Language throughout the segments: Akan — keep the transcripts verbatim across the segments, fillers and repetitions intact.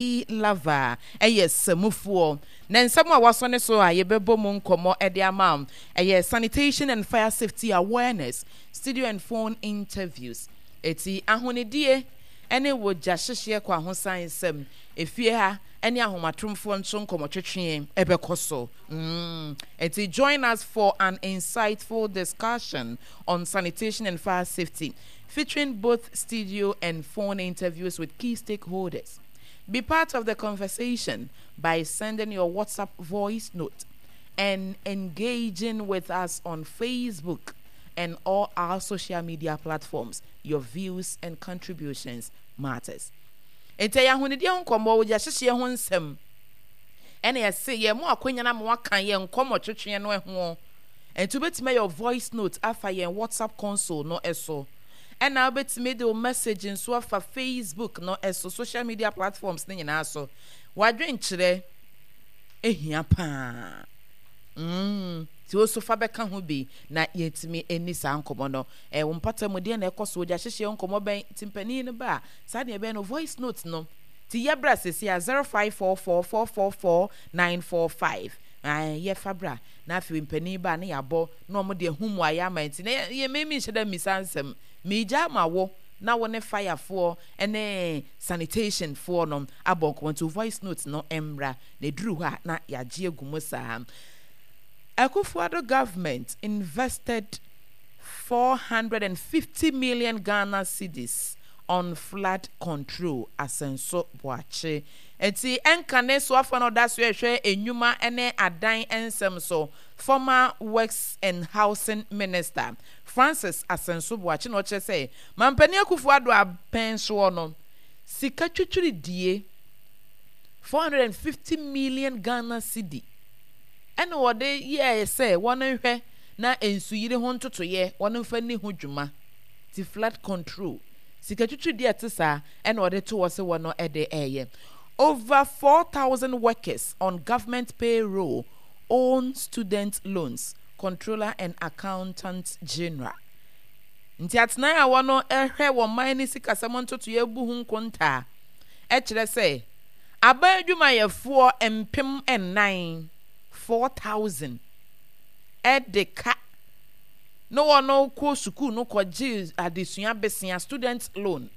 Lava ɛyɛ samufoɔ na nsɛm a wasɔ ne so a yɛbɛbɔ mu nkɔmmɔ de ama ɛyɛ sanitation and fire safety awareness, studio and phone interviews. Eti ahonidie ɛne wɔ gya hyehyeɛ kɔ ahosan nsɛm efie ha ɛne ahomatromfoɔ nso nkɔmmɔtwetwe ɛbɛkɔ so mm. Eti join us for an insightful discussion on sanitation and fire safety, featuring both studio and phone interviews with key stakeholders. Be part of the conversation by sending your WhatsApp voice note and engaging with us on Facebook and all our social media platforms. Your views and contributions matters. Nti ɛyɛ ahonidie ho nkɔmmɔ, wɔ hyehyɛ ho nsɛm, ɛna yɛse yɛn mo akwanya na mo aka yɛn nkɔmmɔ twetwe no ho. Nti wobɛtumi ayɛ voice note afa yɛn WhatsApp console no ɛso, ɛna wobɛtumi de wo message nso afa Facebook no ɛso, social media platforms ne nyinaa so. Wadwenkyerɛ ehia paa mm nti wo so fa bɛka ho bi na yɛntumi ani saa nkɔmmɔ no. Ɛwɔ mpata mu deɛ na ɛkɔ so, ogya hyehyɛ nkɔmmɔ bɛn nti mpanin no ba a, saa deɛ ɛbɛyɛ no voice note no ti yɛbra sisi a zero five four four four four four nine four five. Yɛfa bra na afei mpanin ba ne yɛabɔ na wɔn de ehu mu ayɛ ama. Nti na yɛ mɛmi nhyɛ dɛ mmisa nsɛm miigya ama wo na wo ne firefoɔ ne sanitation foɔ no abɔ nkɔmmɔ. Nti voice note no mmra na eduru hɔ a na yɛagye agu mu saa. Akufo-Addo government invested four hundred fifty million Ghana cedis on flood control, Asenso Boakye. Nti ɛnka ne so afa no ɔda so ɛhwɛ enwuma ne adan nsɛm so, former Works and Housing Minister Francis Asenso Boakye na ɔkyerɛ sɛ Mampanin Akufo-Addo apɛn soɔ no, sika twitwiridie four hundred fifty million Ghana cedi ɛna wɔde yɛɛ sɛ wɔn nhwɛ na nsuyiri ho ntotoyɛ wɔn mfa ni ho dwuma. Ti flood control sika twitwiridie ɛte saa ɛna wɔde to hɔ sɛ wɔn ɛde ɛɛyɛ. Over four thousand workers on government payroll owe student loans, Controller and Accountant General. Nti atenan a wɔn ɛhwɛ wɔn man ne sikasɛm ntotoyɛ bu ho nkontaa ɛkyerɛ sɛ aban adwumayɛfoɔ mpem nnan, four thousand, ɛde ka na wɔn kɔ sukuu no kɔgye adesua besia, student loan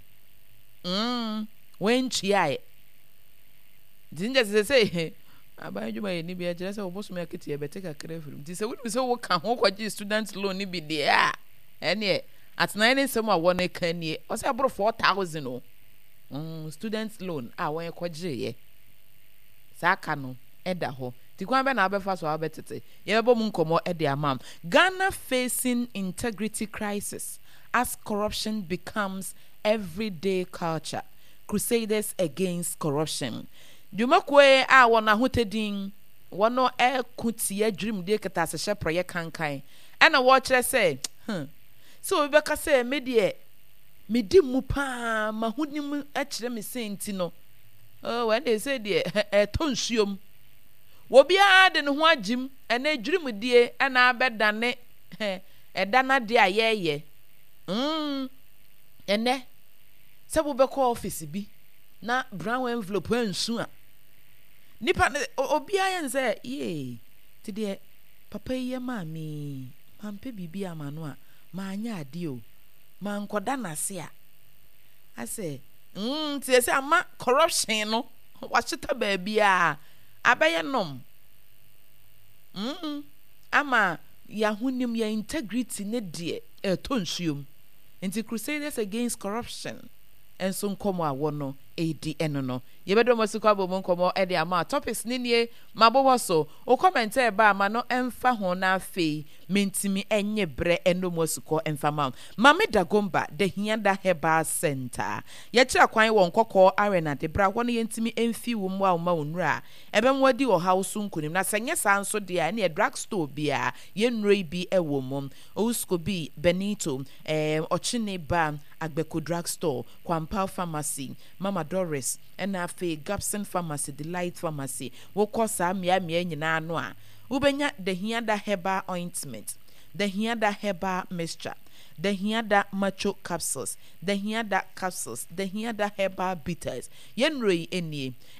mm wɔn ntuaeɛ. Nti n kyerɛ sɛ sɛ aban adwumayɛni bi ɛkyerɛ sɛ wɔbɔsome akatua bɛte kakra afiri mu. Nti sɛ wonim sɛ woka ho kɔgye student loan no bi deɛ a, ɛneɛ atenaeɛ ne nsɛm a wɔn ka nie. Ɔsɛ ɛboro four thousand o mm, student loan a wɔn kɔgyeeɛ saa ka no ɛda hɔ. Nti kwan bɛ na abɛfa so a wabɛtete, yɛbɛbɔ mu nkɔmmɔ ɛde ama. Ghana facing integrity crisis as corruption becomes everyday culture, Crusaders Against Corruption. Dwumakuo yi a wɔn ahotadin wɔn ɛko tia dwirimdie kɛtɛasehyɛ prɔyɛ kankan ɛna wɔrekyerɛ sɛ hmm, sɛ obi bɛka sɛ me deɛ medi mu paa, m'ahonim kyerɛ me sɛ nti no, oh, ɛna ɛsɛ deɛ ɛtɔ nsuom, obiara de ne ho agyim. Ɛna dwirimdie ɛna abɛdane ɛda n'adeɛ a yɛreyɛ mm ɛnɛ sɛ wobɛkɔ office bi na brown envelope ansu a, nipa no obiara yɛ no sɛ yee te deɛ papa yi yɛ maa mi, mampɛ biribi ama no a maanyɛ adeɛ o, mankɔda n'ase a asɛ mm te sɛ ama corruption no wahyeta baabiara abɛyɛ nom mm ama yɛahonim yɛn integrity ne deɛ ɛtɔ nsuom. Nti Crusaders Against Corruption nso nkɔmɔ a wɔno ɛredi ɛno no, yɛbɛdɔ mo asikɔ abɔ mu nkɔmɔ ɛde ama. Topics ne nie mabobɔ so. Wo comment ɛba ama no ɛmfa ho na afei mentumi ɛnyɛ berɛ ɛno mu asukɔ ɛmfa ma Mame Dagomba Dahiada Herbal Center. Yɛkyerɛ kwan wɔ Nkɔkɔɔ Arena de bra hɔ no, yɛntumi ɛmfi wo mmoa wo ma wo nnura a ɛbɛmo adi ɔhaw so nkonim. Na sɛ nyɛ saa nso deɛ a, ɛneɛ drug store biara yɛnnuro yi bi ɛwɔ mu. Owuskobi Benito ɛɛ Ɔkyene Ba Agbeko Drug Store, Kwampao Pharmacy, Mama Doris, ɛna afei Gabson Pharmacy, Delight Pharmacy. Wokɔ saa mmeammea nyinaa no a, wobɛnya Dahiada Herbal Ointment, Dahiada Herbal Mixture. Dahiada Macho Capsules, Dahiada Capsules, Dahiada Herbal Bitters. Yɛn nnuro yi nie.